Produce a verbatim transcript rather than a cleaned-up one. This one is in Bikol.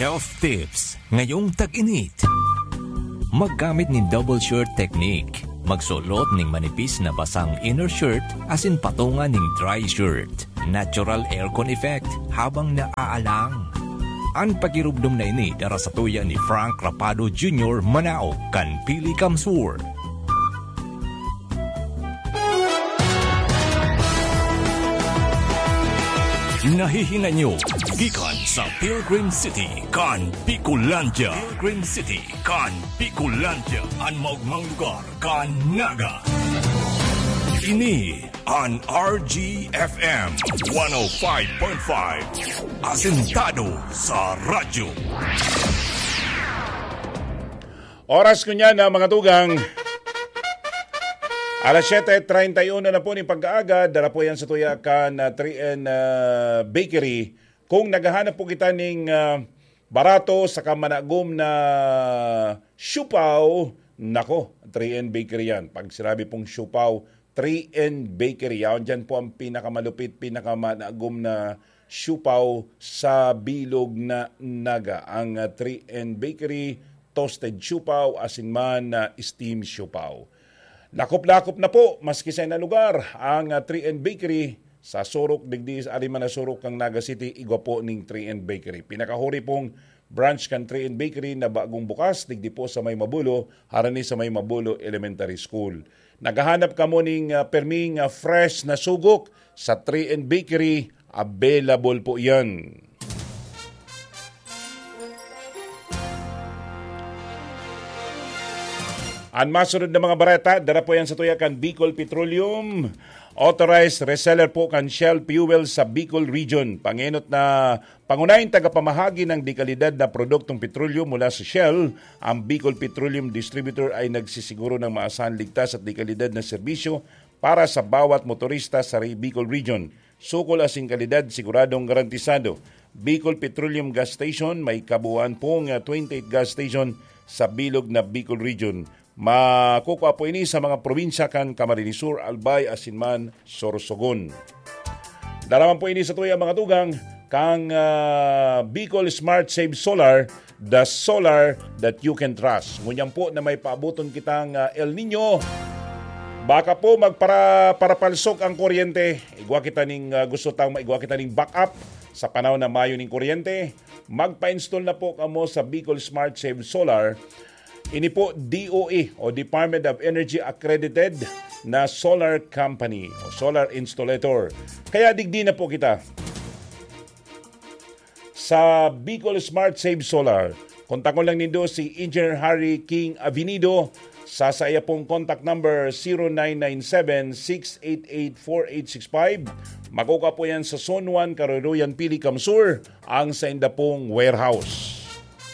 Health tips ngayong tag-init. Maggamit nin double shirt technique. Magsulot ning manipis na basang inner shirt asin patunga ning dry shirt. Natural aircon effect habang naaalang. An pakirumdom na ini dara sa tuya ni Frank Rapado Junior, Manao, kan Pili Kamsur. Nahihinga nyo gikan sa Pilgrim City kan Bicolandia. Pilgrim City kan Bicolandia, an maogmang lugar kan Naga. Ini an R G F M one oh five point five, asentado sa radyo. Oras ko niya na, mga tugang. Alas siyete treinta y uno na po ning pagkaaga, dara po yan sa tuya kan, ah, three N, ah, Bakery. Kung naghahanap po kita ning, ah, barato saka managom na siopao, nako, three N Bakery yan. Pag sinabi pong siopao, three N Bakery, yaon dyan po ang pinakamalupit, pinakamanagom na siopao sa bilog na Naga. Ang, ah, three N Bakery, toasted siopao, asin man na steam siopao. Lakop-lakop na po, maski sa na lugar, ang, ah, three N Bakery sa surok digdi, ari man na surok kan Naga City, igwa po ning three N Bakery. Pinakahuri pong branch kan three N Bakery na bagong bukas, digdi po sa may Mabulo, harani sa may Mabulo Elementary School. Naghahanap kamo ning, ah, perming, ah, fresh na sugok, sa three N Bakery, available po yan. An masunod na mga bareta, dara po yan sa tuya kan Bicol Petroleum. Authorized reseller po kan Shell Fuel sa Bicol Region. Pangenot na pangunahing tagapamahagi ng dekalidad na produktong petrolyo mula sa Shell, ang Bicol Petroleum Distributor ay nagsisiguro ng maasahan, ligtas at dekalidad na serbisyo para sa bawat motorista sa Re-, Bicol Region. Sukol asin kalidad, siguradong garantisado. Bicol Petroleum Gas Station, may kabuuan pong, ah, twenty-eight gas station sa bilog na Bicol Region. Makukua po ini sa mga probinsya kan Camarines Sur, Albay, asin man Sorsogon. Dara man po ini sa tuya, mga tugang, kang, ah, Bicol Smart Save Solar, the solar that you can trust. Ngunyan po na may paaboton kitang, ah, El Nino, baka po magpara-, parapalsok ang kuryente. Igwa kita ning, ah, gusto tang maigwa kita ning backup sa panahon na mayo ning kuryente. Magpa-install na po kamo sa Bicol Smart Save Solar. Ini po D O E o Department of Energy accredited na solar company o solar installer. Kaya digdi na po kita sa Bicol Smart Save Solar. Kontakon lang nindo si Engineer Harry King Avenido sa saiya pong contact number, zero nine nine seven, six eight eight, four eight six five. Makukua po yan sa Zone one, Karuruyan, Pili, Kamsur, ang sainda pong warehouse.